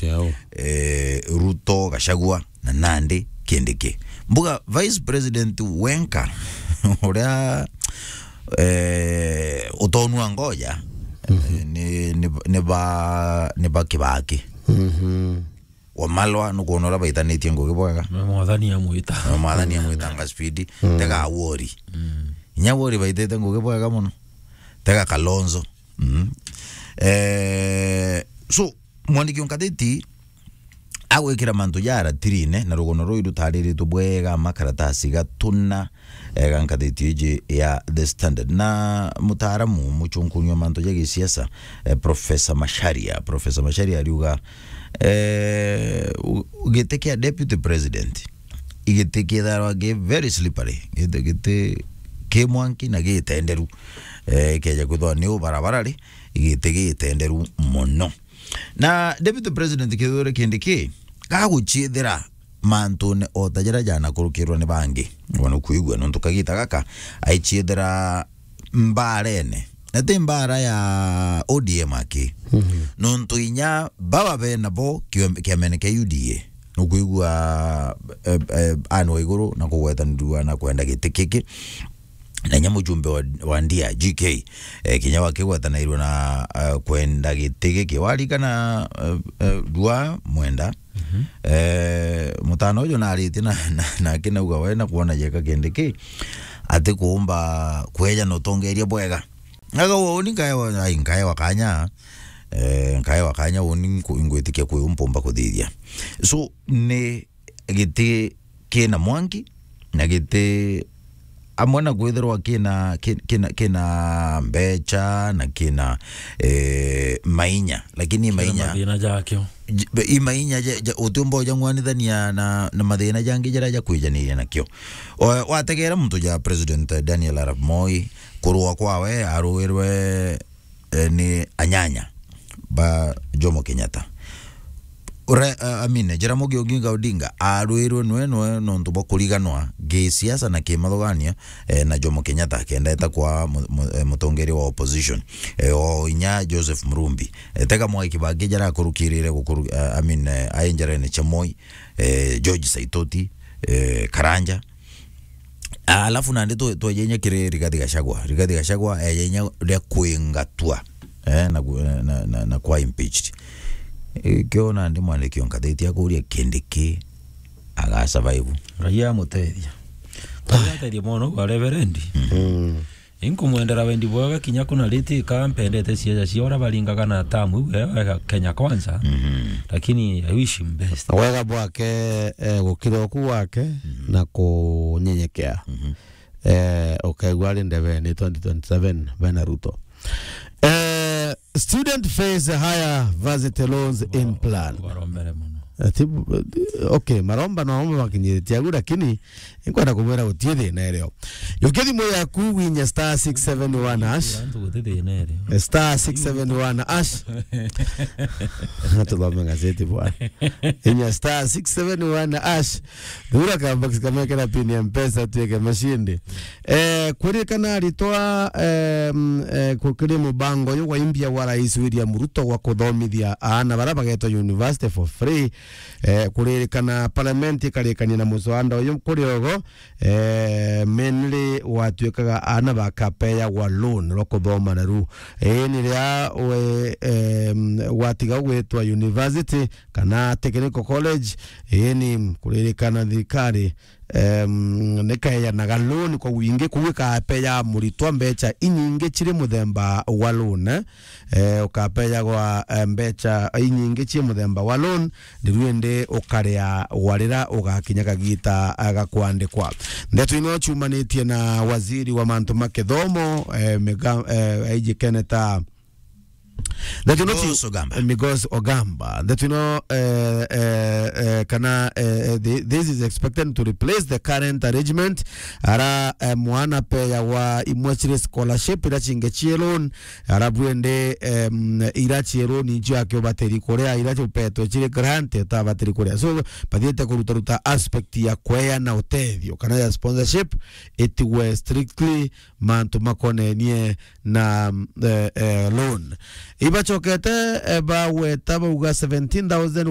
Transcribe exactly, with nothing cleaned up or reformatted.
Yao. Eh, Ruto, Gachagua, na Nandi, Kindiki. Mbuga Vice President wenka, uria, eh, utonua ngoja, eh, ni, ni, ni ba, ni ba Kibaki. Mhm. Wamalwa, nukwona uria baitanitie ngugi bwega. Na mwathani amwita. Na mwathani amwitanga speed. Mm. Tega Awori. Mm. Inya Awori baitite ngugi bwega mono. Tega Kalonzo. Mm. Eh, so, mwandiki wa ngatheti agwikira mantu ja aratirine, na rugono ruu rutariritwe bwega, makaratasi gatuna, eh, ga ngatheti iji ya The Standard. Na mutaaramu, muchunkunyi wa mantu ja gisiasa, eh, Professor Macharia. Professor Macharia ariuga, eh, u-, giti kia deputy president, igiti kitharwa gi very slippery, giti, giti ki mwanki na gitenderu. Eh, keja kwithwa ni ubarabara ri, igiti gitenderu mono. Na Deputy President Kithure Kindiki gaguchiithira mantune o ta jaria janakurukirwa ni bangi. Wana kuigua nontu kagita gaka aichiithira mbaarene. Na ti mbaara ya O D M aki. Mhm. Nontu inya baba bena bo kio-, kiamene kia U D A. Nukwigua, eh, eh, Anne Waiguru na kugwetanirua na kwenda giti kiki. Na inya mujumbe wa, wa Ndia, G K, eh, kinya wakigwetanairwe na, eh, kwenda giti giki. Warikana, eh, eh, Ndua Mwenda, mhm, eh, mutana uju naritie na, na, na akinauga we na kwona jeka Kindiki, ati kuumba kweja na utongeria bwega. Aga uni nkaewa, ai, nkaewa kanya, eh, nkaewa kanya uni nku-, ngwitikia kwi umpumba kuthithia. So, ni giti kina mwanki, na giti amwe na kwithirwa kina, ki-, kina, kina mbecha, na kina, eh, mainya, lakini kina mainya mathina jakio. J-, i mainya ja, ja, utiumba ujang'wanithania na, na mathina jangi jaria jakwijaniria nakio. O, wategera muntu ja President Daniel Arap Moi, kurua kwawe aruirwe eh, ni anyanya ba Jomo Kenyatta. Ura-, eh, I mean, Jaramogi Oginga Odinga arwirwe nwe nwe nontu bwa kuriganwa gisiasa na kimathuganio, eh, na Jomo Kenyatta, kenda eta kwa mu-, mu-, eh, mutongeria wa opposition, eh, o inya Joseph Murumbi. Eh, tega Mwai Kibaki jarakurukirire gukuru-, eh, I mean, eh, ai njarene cia Moi, eh, George Saitoti, eh, Karanja. Alafu nandi twe-, tweja inya kiri Rigathi Gachagua. Rigathi Gachagua eja inya ria kwingatwa, eh, na ku-, na, na, na kwa impeached. Eh, kio nandi mwandiki o ngatheti akuria Kindiki aga survive. Ngai amutethia. Ngai atethia mono kwa Reverend. Mm. Inkumwendera wendi bwega kinya kuna riti ka mpendete ciaja cia ura baringaga na tamu iu ya, ya Kenya Kwanza. Mhm. Lakini I wish him best. Wega bwake, eh, gukira uku gwake, mhm, na kunyenyekea. Mhm. Eh, ukaigua ari ndebeni twenty twenty-seven bena Ruto. Eh, student face higher varsity loans in plan. Barombere mono. Ati, okay, maromba no makinyiritie agu, lakini inkwenda kumwira gutie thina irio. Yukia thimu yaku winye star six seven one hash. Antu guti thina irio. Star six seven one hash. Tuthome gazeti bwana. Inya star six seven one hash. Thura ka box kamekera pin ya Mpesa tuike mashindi. Eh, kwirikana aritwa, em, eh, kukiri mubango uyu wa imbia wa Rais William Ruto wa kuthomithia aana bara bagetwa university for free. Eh, kuririkana parliament ikarikania na muswanda uyu kuri ogo, eh, mainly watuikaga aana bakapeyagwa loan rwa kuthoma naru. Ii ni ria we, em, watiga gwitwa university kana technical college, ii ni kuririkana thirikari, em, nikayanaga loan kwa wingi, kuu ikapeya muritwa mbecha inyingi ciri muthemba wa loan, eh, ukapeyagwa, eh, mbecha inyingi cii muthemba wa loan, riu indi ukaria warira ugakinya kagita, eh, ga kwandikwa. Ndeto ino ciumanitie na waziri wa mantu ma kithomo, eh, Miga-, eh, Aiji Keneta. Ndeto ino ci-, Migos Ogamba. Migos Ogamba. Ndeto ino, eh, eh, eh, kana, eh, eh, thi-, this is expected to replace the current arrangement, ara, eh, mwana peyagwa imwe ciri scholarship, ira cingi cii loan, arabu indi, em, ira cii loan incio aki ubatiri kuria, ira upetwe ciri grant utabatiri kuria. So, bathiite kurutaruta aspect ya kweana utethio, kana ya sponsorship, itigwe strictly mantu makonenie na, eh, eh, loan. Ibacokete, eh, bagweta bauga seventeen thousand